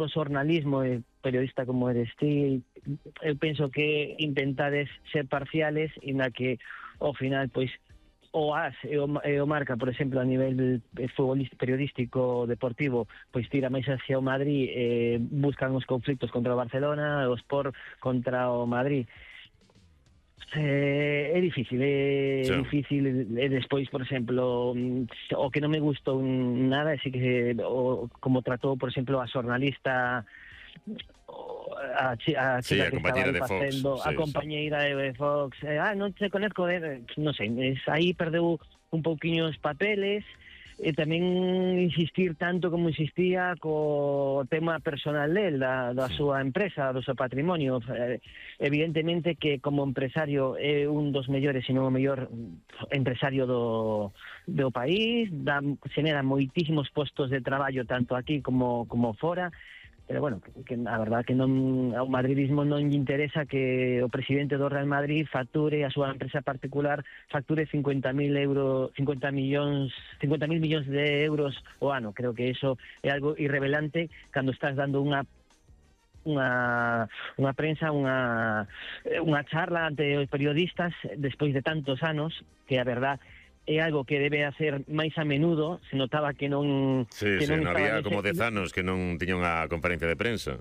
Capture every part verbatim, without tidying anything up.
o xornalismo, e periodista como eres ti, eu penso que intentades ser parciales e na que ao final pois o A S e o, e o Marca, por exemplo, a nivel futbolístico, periodístico, deportivo, pois tira máis hacia o Madrid, eh, buscan os conflictos contra o Barcelona, o Sport contra o Madrid. Eh, é difícil, é sí. difícil, e despois, por exemplo, o que non me gustou nada é si que o, como tratou, por exemplo, a xornalista, a, a chica sí, a que estaba aí facendo, Fox, a sí, compañeira sí. de Fox, eh, ah, non se conozco, eh, non sei, es, aí perdeu un pouquiño os papeles, e tamén insistir tanto como insistía co tema personal del, da, da súa empresa, do seu patrimonio. Eh, evidentemente que como empresario é un dos mellores, se non o mellor empresario do, do país, da, genera moitísimos postos de traballo tanto aquí como, como fora, pero bueno, que a verdad que non ao madridismo non lle interesa que o presidente do Real Madrid facture, a súa empresa particular facture cincuenta mil euros, cincuenta millóns, cincuenta mil millóns de euros o ano. Creo que eso é algo irrelevante cando estás dando unha unha unha prensa, unha unha charla ante os periodistas despois de tantos anos, que a verdad é algo que debe hacer máis a menudo. Se notaba que non... Sí, que sí, non non estaba había como dez anos que non tiña unha conferencia de prensa.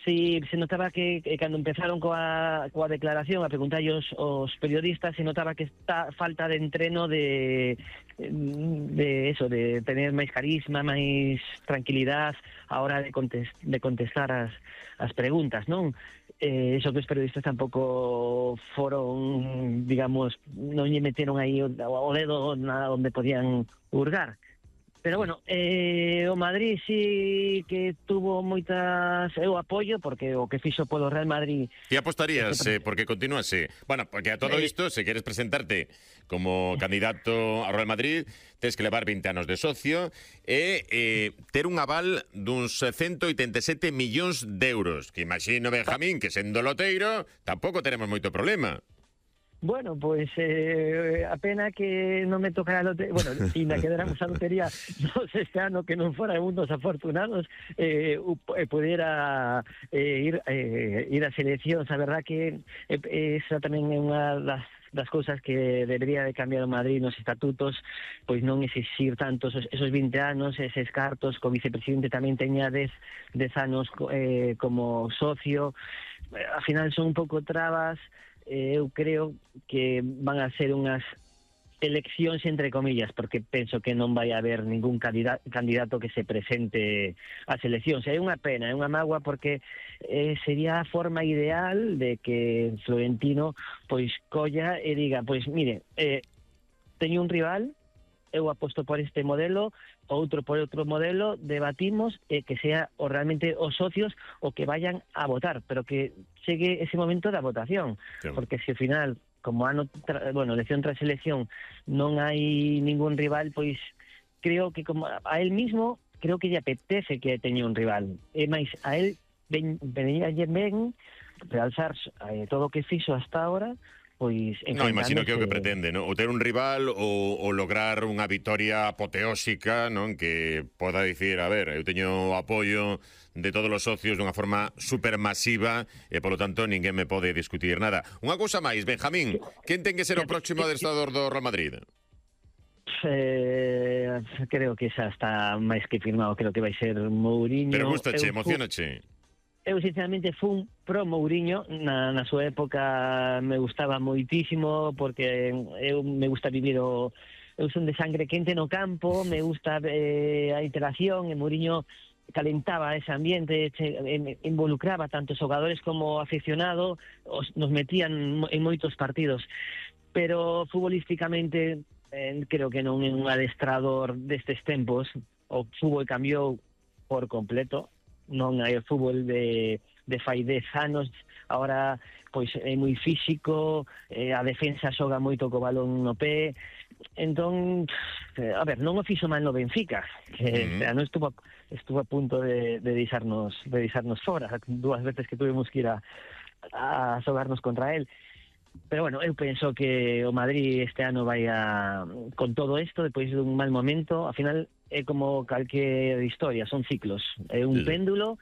Sí, se notaba que, que cando empezaron coa, coa declaración a preguntarlle os, os periodistas, se notaba que está falta de entreno de de eso, de tener máis carisma, máis tranquilidade a hora de, contest, de contestar as, as preguntas, non? Eh, eso que os periodistas tampouco foron, digamos, non lle meteron aí o, o dedo na onde podían hurgar. Pero bueno, eh, o Madrid sí que tuvo moitas... Eu apoio, porque o que fixo polo Real Madrid... Ti apostarías, eh, porque continúase... Bueno, porque a todo isto, se queres presentarte como candidato ao Real Madrid, tens que levar vinte anos de socio e eh, ter un aval duns ciento oitenta e sete millóns de euros, que imagino, Benjamín, que sendo loteiro, tampouco tenemos moito problema. Bueno, pues eh, a pena que non me tocara a lotería, bueno, si na quedáramos a lotería nos este ano, que non fora un dos afortunados, eh, eh, pudiera eh, ir eh, ir a seleccións. A verdad que eh, esa tamén é unha das das cousas que debería de cambiar o Madrid nos estatutos, pois non exixir tantos esos, esos vinte anos, eses cartos, co vicepresidente tamén teña dez anos eh, como socio. Al final son un pouco trabas. Eu creo que van a ser unhas eleccións entre comillas, porque penso que non vai haber ningún candidato, candidato que se presente ás eleccións. É unha pena, é unha mágoa, porque eh, sería a forma ideal de que Florentino pois colla e diga, pois mire, eh, teño un rival, eu aposto por este modelo, outro por outro modelo, debatimos e que sea o realmente os socios o que vayan a votar, pero que chegue ese momento da votación, sí. Porque se ao final, como ano tra, bueno, elección tras elección, non hai ningún rival, pois creo que como a él mismo, creo que lle apetece que teña un rival, e máis a él ven, venía ayer ben realzar eh, todo o que fixo hasta ahora. Pois, no, imagino que é o que pretende, ¿no? O ter un rival ou, ou lograr unha vitoria apoteósica, non? Que poda dicir, a ver, eu teño o apoio de todos os socios dunha forma supermasiva e, polo tanto, ninguén me pode discutir nada. Unha cousa máis, Benjamín, quen ten que ser o próximo adestrador do Real Madrid? Eh, creo que xa está máis que firmado, creo que vai ser Mourinho. Pero gustache, emocionache? Eu, sinceramente, fui un pro Mourinho. Na, na súa época me gustaba moitísimo, porque eu me gusta vivir o... Eu son de sangre quente no campo, me gusta eh, a interacción, e Mourinho calentaba ese ambiente, che, eh, involucraba tanto os xogadores como aficionado, os, nos metían en moitos partidos. Pero futbolísticamente eh, creo que non é un adestrador destes tempos. O fútbol cambiou por completo. Non hai o fútbol de, de fai dez anos, agora pois é moi físico, eh, a defensa xoga moito co balón no pé, entón, eh, a ver, non o fixo mal no Benfica, que mm-hmm. este ano estuvo, estuvo a punto de, de deixarnos, de deixarnos fora, dúas veces que tuvimos que ir a, a xogarnos contra él. Pero bueno, eu penso que o Madrid este ano vai a, con todo isto, depois dun mal momento, ao final é como calquer historia, son ciclos, é un sí. péndulo,